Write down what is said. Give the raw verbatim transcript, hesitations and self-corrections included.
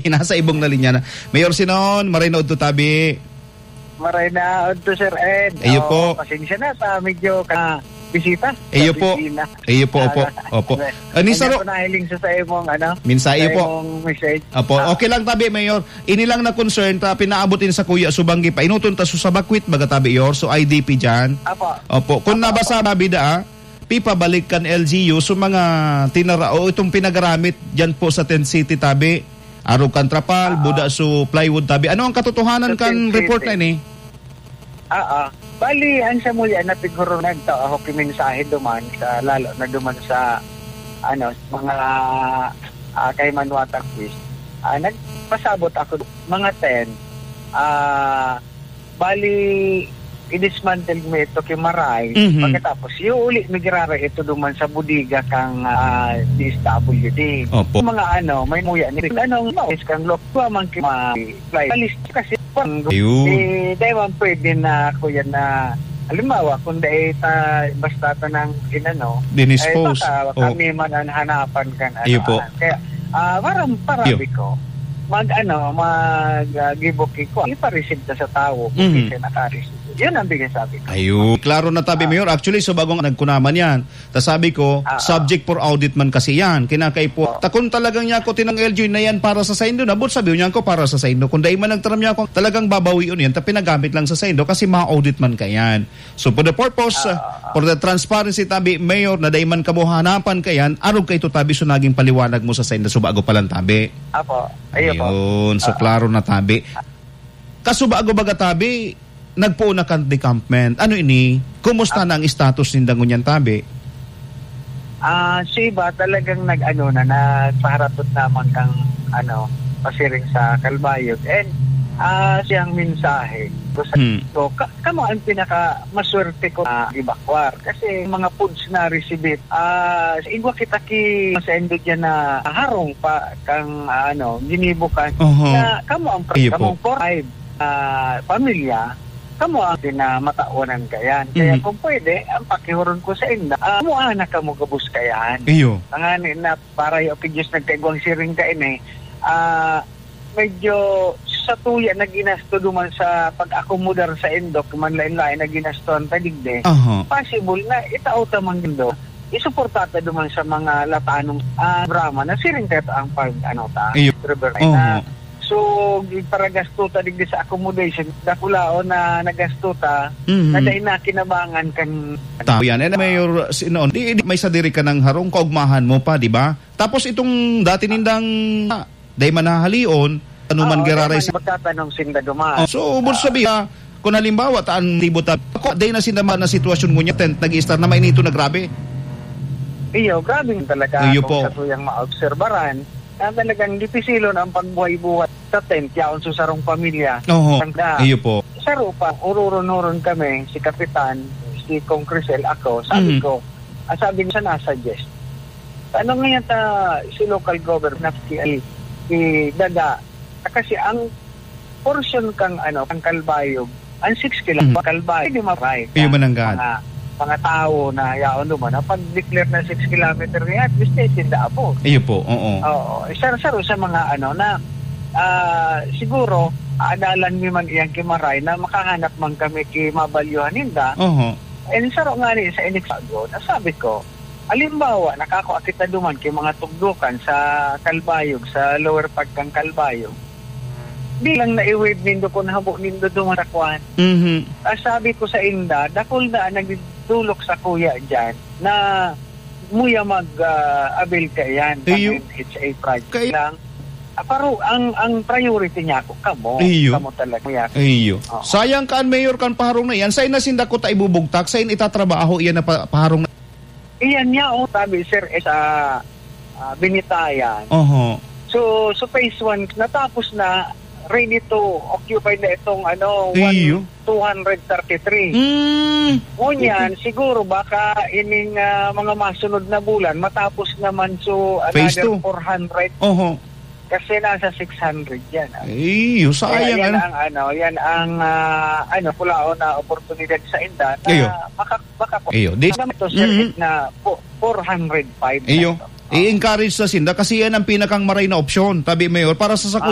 Nasa ibong na linya na. Mayor Sinon, maray na udto tabi. Maray na udto, Sir Ed. Iyo Oo, po. Pasensya na sa medyo ka bisita sa Iyo po. Opisina. Iyo po, opo. Ah, Opo. Ani, kanya saro- ko nahiling sa, sa imong, ano, Mensahe sa po. Imong message. Opo. Ah. Okay lang tabi, Mayor. Ini lang na concern ta pinaabot ini sa kuya subanggi pa. Inuton ta su sa bakwit, baga tabi, Yor. So, I D P dyan. Apo. Opo. Kung Apo, nabasa, apo. Mabida, ah, pipabalik kan L G U so mga tinara o itong pinagaramit dyan po sa Tent City tabi. Arog kan trapal, Oo. Buda so plywood tabi. Ano ang katotohanan Sa kan Tent report City. Na ini? Oo. Bali, ang sa muya na siguro nagtao ako kimensahe duman sa, lalo na duman sa, ano, mga, ah, kay Manuatang Quiz. Ah, nagpasabot ako mga ten. Ah, Bali, i-dismantle mo ito kay Maray. Mhm. Pagkatapos, iuuli mi giraray ito duman sa bodega kang, ah, D S W D. Opo. Mga ano, may muya ni anong maos kang lok, wa man ki ma-, fly. Alis kasi pang Ayun. Eh, dahil man pwede na ako yan na, halimbawa, kung dahil ta, basta ta nang inano, Dinispose. Eh, baka Oh. kami man ang hanapan kan ano, Iyo po. ah, kaya, ah, parang parabi Iyo. ko, mag, ano, mag, ah, give o take ko, ipareceive ta sa tawo kung Mhm. di siya naka-receive. Yun ang bigay sabi ko. Ayun. Klaro na tabi, Ah. Mayor. Actually, so bagong nagkunaman yan. Ta sabi ko, Ah, ah. subject for audit man kasi yan. Kinakaipo. Ah. Ta kung talagang niya ako tinang L G U na yan para sa saindo, nabot sabi niya ako para sa saindo. Kung dai man nagtaram niya ako, talagang babawion yan. Ta pinagamit lang sa saindo kasi ma-audit man ka yan. So for the purpose, Ah, uh, ah, ah. for the transparency tabi, Mayor, na dai man kamo hanapan ka yan, arog ka ito tabi, so naging paliwanag mo sa saindo, so bago pa lang tabi. Apo. Ayun po. Ayun. So Ah, ah. klaro na tabi. Kasubago baga tabi, nagpoon na kan decampment. Ano ini? Kumusta Ah. na ang status ninda ngunyan tabi? Ah, si iba talagang nag-ano na, nagpaharapot naman kang, ano, pasiring sa Calbayog. And, ah, siyang mensahe. Gusto Hmm. ko, ka-, kamo ang pinaka maswerte ko na evacuar. Kasi mga foods na receive, ah, sa igwa kita ki sa indo dyan na harong pa kang, ah, ano, ginibo kan Oho. na kamo ang pre-, Iyo po. kamong four, five, ah, pamilya, kamo ang pinamatawanan kayan. Kaya Mhm. kung pwede, ang pakihuron ko sa inda, ah, muana kamo gabos kayan. Iyo. Tangani na para yung kay Diyos nagkaigwang siring ka ini, ah, medyo sa tuya na ginasto duman sa pag-akomodar sa indok, man lain-lain na ginastoan ta digdi. Aha. Possible na itao ta man gindo. Isuporta ta duman sa mga latanong, ah, drama na siring kayo ang pag, ano ta, Iyo. River Line na. Oho. So, paragasto ta digdi sa accommodation, dakulaon na nagasto ta, Mhm. na dai na kinabangan kan Tao yan. Eh, na Mayor, si, noon, di, di, may sadiri ka ng harong, kaugmahan mo pa, di ba? Tapos itong dati nindang, ah, dai manahalion, ano man Ah, giraray dai man si magtatanong sinda duman. Oh, so, ubod Ah. sabi, ah, kung halimbawa, taan libo ta, ako, dai na sinda man na sitwasyon ngunyan, tent, nag-i-start na mainito na grabe. Iyo, grabe talaga Iyo kung po. sa tuyang maobserbaran, na talagang dipisilon ang pagbuhay-buhay sa tent, yaon sa sarong pamilya. Oho. Sanda. Iyo po. Saro pa, ururon-uron kami, si Kapitan, si Kong Crisel, ako, sabi Mhm. ko, ah, sabi niya, "Nasa suggest." Ano ngayon ta, si local government, si, si Daga, kasi ang portion kang, ano, kang Calbayog, ang six kilo, Mhm. Calbayog, di ma-right. Iyo, mananggahan. Mga, mga tao na yaon duman, na pag-declare na six kilometer niya, at least, eh, tinda abot. Iyo po, oo. Oo. Isa, isa rin sa mga, ano, na, ah, siguro, aadalan mi man iyang ki Maray na makahanap man kami ki mabalyuhan ninda. Oho. And saro nga ni sa inigsago, nasabi ko, halimbawa, nakakua kita duman ki mga tugdukan sa Calbayog, sa lower part kang Calbayog. Di lang na-waive nindo kung habo nindo duman sa kwan. Mhm. Ah, sabi ko sa inda, dakul na ang nagdulok sa kuya dyan na muya mag, ah, avail ka yan, Iyo. N H A project Kay- lang. Ah, paro, ang, ang priority niya ako, kamo. Iyo. Kamo talaga, muya. Iyo. Oo. Sayang ka, an mayor kan paharong na yan. Sain na sinda ko ta ibubugtak, sain itatrabaho iyan na pa-, paharong na? Iyan niya, oh, sabi, sir, eh, sa, ah, Binitayan. Oho. So, so phase one, natapos na, ready to occupy na itong, ano, Iyo. one, two hundred thirty-three. Mm. Ngunyan, siguro baka ining, ah, mga masunod na bulan, matapos naman, so, Phase another two. four hundred. Oho. Kasi nasa six hundred yan, ah. Iyo, Kaya sayang, yan ano? ang, ano, yan ang, ah, ano, kulaon na oportunidad sa inda na Iyo. maka-, maka-, Iyo, di- naman to, sir, Mhm. na po, four hundred five na Iyo. ito. I-encourage sa sinda kasi yan ang pinakang maray na opsyon, tabi, Mayor, para sa, sa Ah,